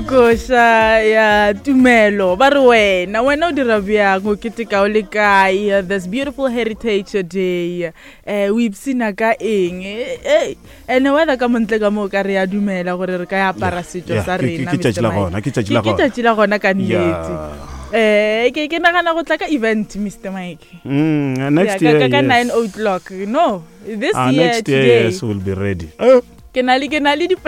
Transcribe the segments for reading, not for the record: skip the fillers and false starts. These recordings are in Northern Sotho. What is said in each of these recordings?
Koša ya tumelo ba re wena wena o dira bjang o keteka o le kae this beautiful heritage day eh o ipsina ka eng eh ene weather ka montle ka moo ka re ya dumela gore re ka ya apara setšo sa rena ke tšatši la gona ke tšatši la gona ke tšatši la gona ka nnete eh ke ke nagana go tla ka event Mr Mike mm, next year ka ka 9 o'clock no this ah, year next year today yes we'll be ready ke na le ke na le di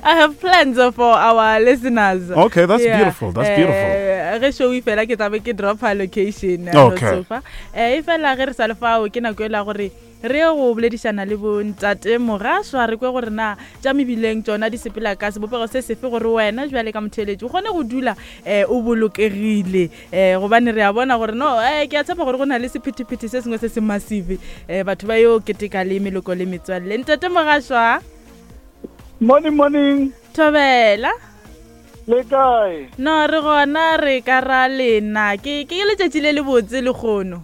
I have plans for our listeners. Okay, that's yeah. beautiful. That's uh, beautiful. Ge show e fela ke tlabe ke drop location. Okay. Sofa. Eh e fela ge re sa le fao ke nako e la gore re ye go boledišana le bontate mogaswa re kwe gore na tša mebileng tšona di sepela ka sebopego se sefe gore wena bjale ka motheeletši o kgone go dula um o bolokegile um gobane re a bona gore no um ke a tshepa gore go na le sephethephethe se sengwe se se massive um batho ba yo keteka le meloko le metswalle. Ntate Mogaswa. Morning, morning. Thobela. Le kae? No, re gona re ka ra lena. Ke ke letšatši le lebotse lekgono.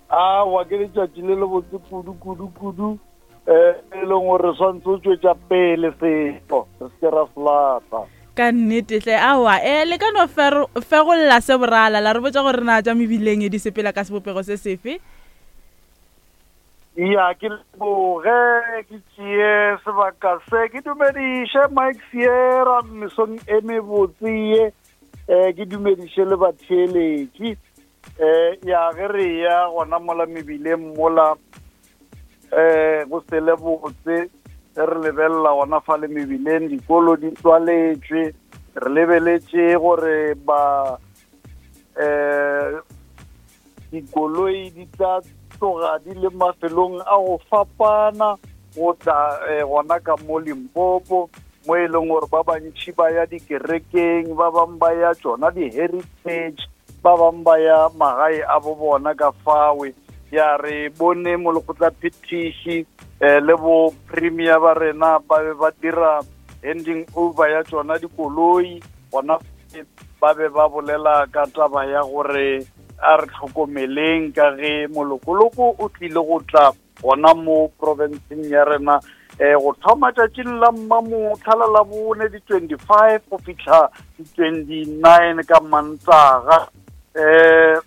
Aowa, ke letšatši le lebotse kudu, kudu, kudu, um e leng gore re swantse o tšwetša pele setšo, re se ke ra se lata. Ka nnete hle, aowa, e le ka no fegolla se borala, la re botša gore na tša mebileng di sepela ka sebopego se sefe? Ya, ke leboge, ke tšee sebaka se, ke dumediše Mike Sierra mesong e mebotse ye, um ke dumediše le batheeletši. Eh, ya ge re ya gona mola mebileng mola eh go sele botse ge re lebelela gona fa le mebileng dikolo di tswaletšwe re lebeletše gore ba eh dikoloi di tla tloga di le mafelong a go fapana go tla eh, gona ka mo Limpopo mo e leng gore ba bantši ba ya dikerekeng ba bangwe ba ya tšona di-heritage ba bangwe ba ya magae a bo bona ka fawe ya re bone molekgotlaphethiši um le bo premier ba rena ba be ba dira handing over ya tšona dikoloi gona ba be ba bolela ka taba ya gore a re tlhokomeleng ka ge molokoloko o tlile go tla gona mo profenseng ya rena um go thoma tšatšing la mmamotlha la labone di-25 go fitlha di-29 ka mantaga um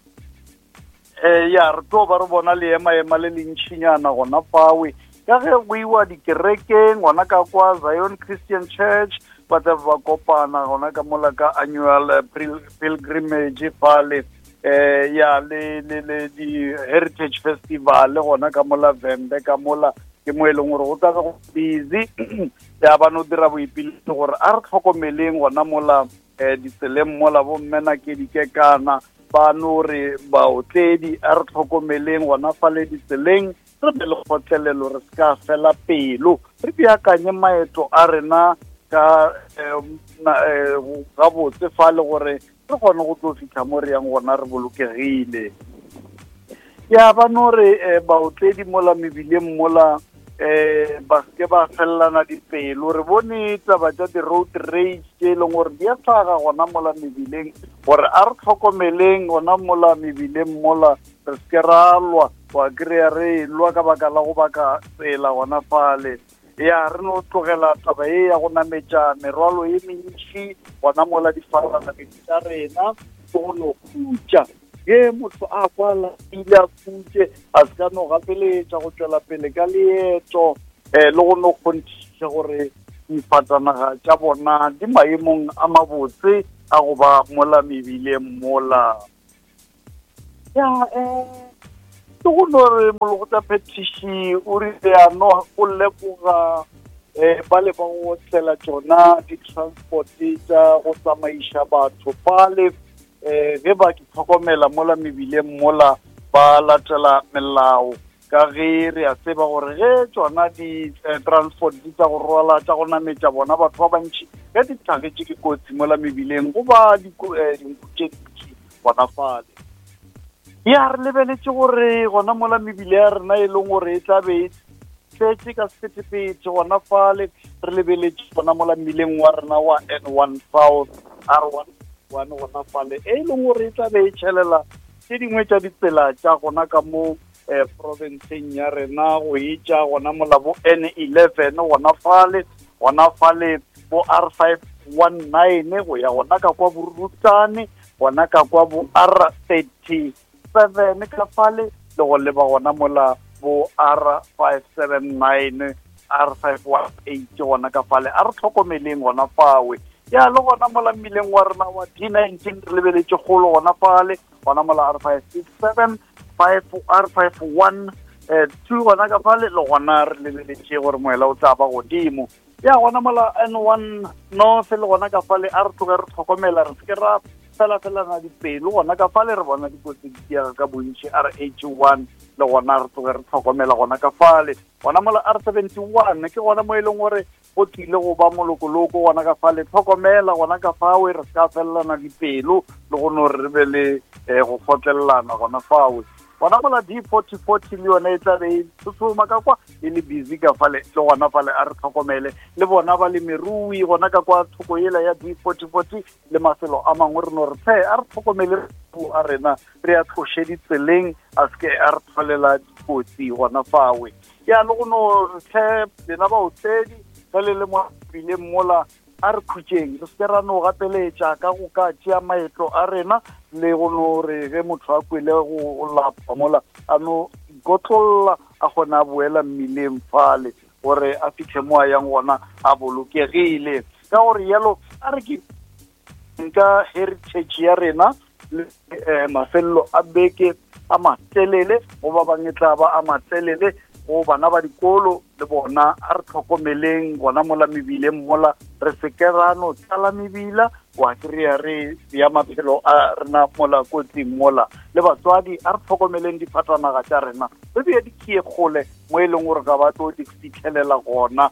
um ya re tlo ba re bona leemaema le lentšhinyana gona fawe ka ge go iwa dikerekeng gona ka kwa Zion Christian Church ba tla ba kopana gona ka mola ka annual eh, pilgrimage fale eh ya le le le di heritage festival gona ka mola Vhembe ka mola ke mo e leng gore go tla go busy ya ba no dira boipiletso gore a re tlhokomeleng gona mola eh ditseleng mola bo mmena ke dikekana ba no re baotledi a re tlhokomeleng gona fale ditseleng re be le kgotlelelo re se ka fela pelo re beakanye maeto a rena ka eh, eh, gabotse fa le gore re kgone go tlo fitlha mo re yang gona re bolokegile ya ba no re eh, baotledi mola mebileng mola eh ba seke ba felelana dipelo re bone taba tša di-road rage tše e leng gore di a tlhaga gona mola mebileng gore a re tlhokomeleng gona mola mebileng mola re seke ra lwa wa kry-a re lwa ka baka la go baka tsela gona fale ya re no tlogela taba ye ya go nametša merwalo ye mentši gona mola difalanamedi tša rena ke go no khutša ge motho a kwa lapile a khutše a se ka no gapeletša go tšwela pele ka leeto um le go no kgonthiša gore difatanaga tša bona di maemong a mabotse a go ba mola mebileng mola Ya, um ke go no re molekgotlaphethiši o rile ya no o leboga um ba le ba go otlela tšona di-transport tša go tsamaiša batho fale um ge ba di tlhokomela mola mebileng mola ba latela melao ka ge re a tseba gore ge tšona di-transport eh, di tsa go rwala tša go nametša bona batho ba bantši ge di tlhagetše ke kotsi mola mebileng go ba eh, dinku tše dintši gona fale ya re lebeletše gore gona mola mebile ya rena e leng gore e tla be e tletše ka sephethephethe gona fale re lebeletše gona mola mmileng wa rena wa N one South R one one gona fale e leng gore e tla be e tšhelela tše dingwe tša ditsela tša gona ka mo eh, profenseng ya rena go etša gona mola bo N11 gona fale gona fale. bo R519 go ya gona ka kwa Borutane, gona ka kwa bo R37 ka fale, le go leba gona mola bo R579, R518 gona ka fale. A re tlhokomeleng gona fawe. Ya le gona mola mmileng wa rena wa D19 re lebeletše kgolo gona fale, gona mola R567, 5, R51, 2 gona ka fale, le gona re lebeletše gore moela o tla ba godimo. Ya gona mola N1 North le gona ka fale, a re tloge re tlhokomela, re se ke ra fela-felana dipelo gona ka fale, re bona dikotsi di diega ka bontši. RH1 le gona re tloge re tlhokomela gona ka fale. Gona mola R71 ke gona mo e leng gore go tlile go ba molokoloko gona ka fale, tlhokomela gona ka fawe, re se ka felelana dipelo le go no re be le go kgotlelelana gona fawe. Gona mola D4040 le yona e tla be e tshotshoma ka kwa, e le busy ka fale, le gona fale a re tlhokomele le bona balemirui gona ka kwa thoko yela ya D4040 le mafelo a mangwe, re no re tlhe a re tlhokomele a rena, re a tloše ditseleng, a se ke a re tlholela dikotsi gona fawe. Ya le go no re tlhe lena baotledi ge le le mo bileng mola, a re khutšeng, re se ke ra no gapeletša ka go ka tšea maeto a rena, le go no re ge motho a kwele go lapa mola a no ikotlolla, a kgona a boela mmileng fale gore a fitlhe mo a yang gona a bolokegile. Ka gore yalo a re ke nka heritage ya rena le mafelelo a beke a matelele, go ba bangwe tla ba a matelele, go bana ba dikolo le bona a re tlhokomeleng gona mola mebileng mola, re se ke ra no tlala mebila wa kry-a re ya maphelo a rena mola kotsing mola. Le batswadi a re tlhokomeleng difatanaga tša rena, re beye dikie kgole mo e leng gore ga ba tlo di fitlhelela gona,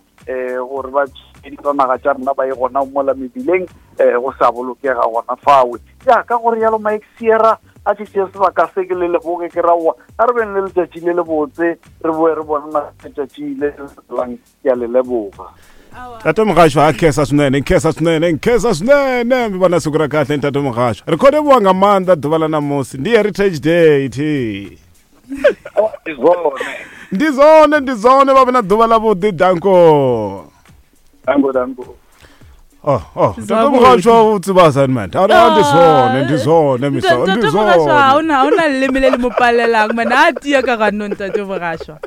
gore ba difatanaga tša rena ba ye gona mola mebileng, go sa bolokega gona fawe. Ya ka gore yalo Mike Sierra a ke tšee sebaka se ke le leboge, ke raowa a re beng le letšatši le le botse, re boe re bona letšatši le lang. Ke a le leboga. Ntate Mogasho, a khensa swinene, nkhensa swinene, nkhensa swinene. Mi vona siku ra kahle Ntate Mogasho. Ri khou livhuwa nga maanḓa ḓuvha ḽa ṋamusi, ndi Heritage Day thi. Ndi zwone. Ndi zwone, ndi zwone, vha vhe na ḓuvha ḽa vhuḓi, danko. Danko, danko. Oh, oh, Ntate Mogasho o tseba assignment. A re ndi zwone, ndi zwone miso, ndi Ntate Mogasho ha zwone. ona, ha ona leleme le le mo palelang, man. A tia ka ganong Ntate Mogasho.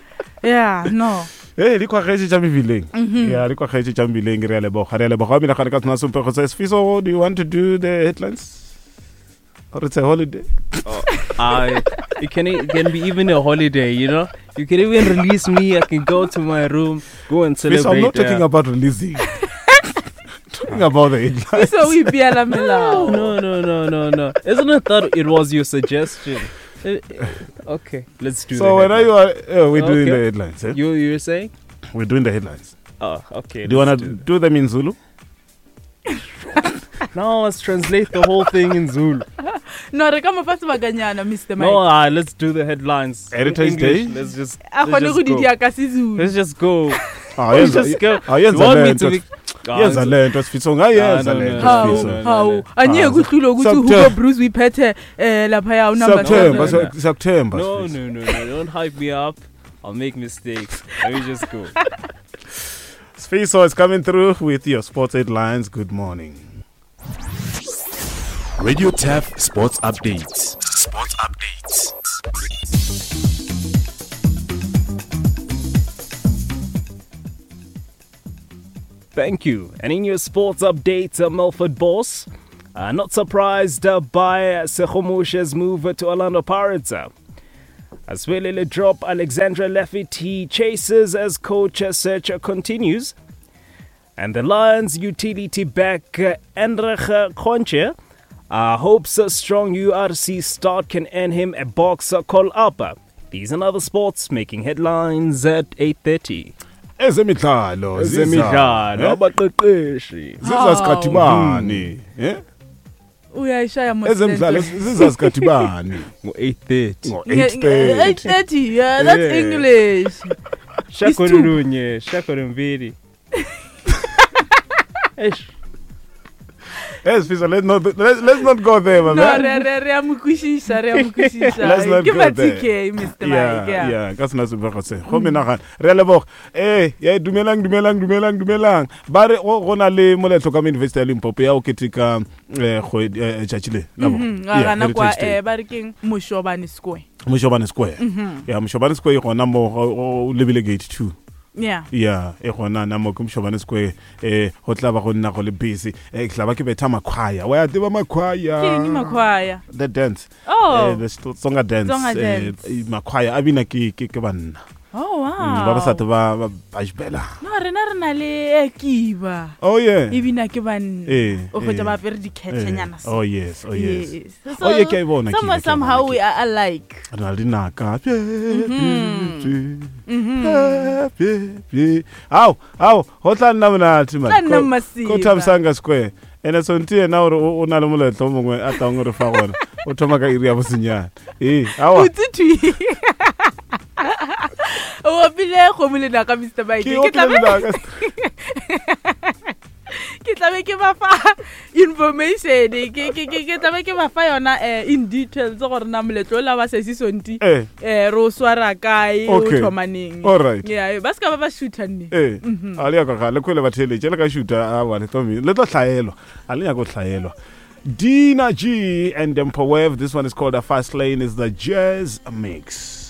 Yeah, no. Hey, di kwagetše tša mebileng. Yeah, di kwagetše tša mebileng, re a leboga, re a leboga. Wa menagano ka tsona sempego se. Sfiso, do you want to do the headlines? Or it's a holiday? Oh, it can, it can be even a holiday, you know? You can even release me. I can go to my room, go and Sfiso, I'm celebrate. not talking about releasing. Talking about the headlines. Sfiso, o ipeela melao. No, no, no, no, no. Isn't it that it was your suggestion? Okay, let's do So the when are you headlines. are, we're doing Okay. the headlines. Eh? You were saying? We're doing the headlines. Oh, okay. Do you want to let's do do them in Zulu? No, let's translate the whole thing in Zulu. No, re ka mo fa sebakanyana, Mister Mike. No, let's do the headlines. In Heritage English. Day? Let's just, A let's kgone just go di go. dia ka seZulu. Let's just go. Ah, Let's yenza- just go. ah, yenza You want me lento. to be Yenza lento Sfiso, ungayenza Ah, no, no, lento, no, Hawu, Sfiso. no, no, hawu. no. Angeke Ah, uhlulwe ukuthi Siyakuthemba. Hugo Broos uyiphethe, laphaya unumber Siyakuthemba, seven. siyakuthemba, No, Sfiso. no, no, no. Don't hype me up. I'll make mistakes. Let me just go. Sfiso is coming through with your sports headlines. Good morning. Radio Turf Sports Updates. Sports Updates. Thank you. And in your sports updates, Milford Boss, not surprised by Segomose's move to Orlando Pirates. As Welele drop Alexandra Lafferty chases as coach search continues. And the Lions utility back Anrich Cronje hopes a strong URC start can earn him a box call up. These and other sports making headlines at 8:30. Ezemidlalo, Ezemidlalo, ziza, abaqeqeshi. ziza sikhathi bani? Eh? Uyayishaya mos Ezemidlalo lento. ziza sikhathi bani? Ngo-8:30. Ngo 8:30. 8:30, yeah, that's Yeah. English. Shako It's two. lunye, shako lumbili. Eish. Hey, Sfiso, let's not let, let's not go there, my No, man. re re re a mo kwešiša, re a mo kwešiša. Let's not Ke go ba there. TK, Mr. Yeah, Mike. Yeah. yeah, ka sena sebego se go menagana re a leboga ee ye dumelang dumelang dumelang dumelang ba re go go na le moletlo ka mo university ya limpopo ya o keteka eh, kgwedi eh, tšatši le la bo- Ga Yeah, gana kwa Heritage Day. eh ba re keng Moshobane Square. Moshobane Square ya Moshobane Square e gona mo o lebile gate 2 Yeah. ya e gona na mo ke Moshobane Square eh go tla ba go nna go le busy eh ke tla ba ke betha makhwaya wa ya tseba makhwaya Ke eng makhwaya? the dance Oh. eh, the Tsonga dance, Tsonga eh, dance. eh, makhwaya a bina ke ke ke banna Oh wow. Mm, ba basadi ba ba ba jbela No, rena re na le eh, kiba. oh yeah E bina ke banna. Eh, O kgotsa eh. ba apere dikhethenyana Eh, so. oh yes oh yes Yes. Oh, ye ke a e bona Somehow, kiba, ke a e bona somehow we kiba. are alike. re na le dinaka ao ao go tla nna monate man. Tla nna Ko- masiba. ko thabisanga square ene sonti yena gore o o na le moletlo o mongwe a tlang gore fa gona o thoma ka iri ya bosenyane ee aowa Botse thwi. O opile kgomo le naka Mr. Mike. ke Ke tla opile be lenaka. ke tla be ke ba fa information ke ke ke ke tla be ke ba fa yona eh, in details gore na moletlo o la wa sesi sonti Eh. eh re o swara kae o Okay. thoma neng Alright. yeah ba ska ba ba shoota nne ee a le yaka ga le kwele batheeletše le ka šuta awa le tlo le tlo hlaelwa a le nyako hlaelwa Dina G and Empowev. This one is called A Fast Lane. Is the jazz mix.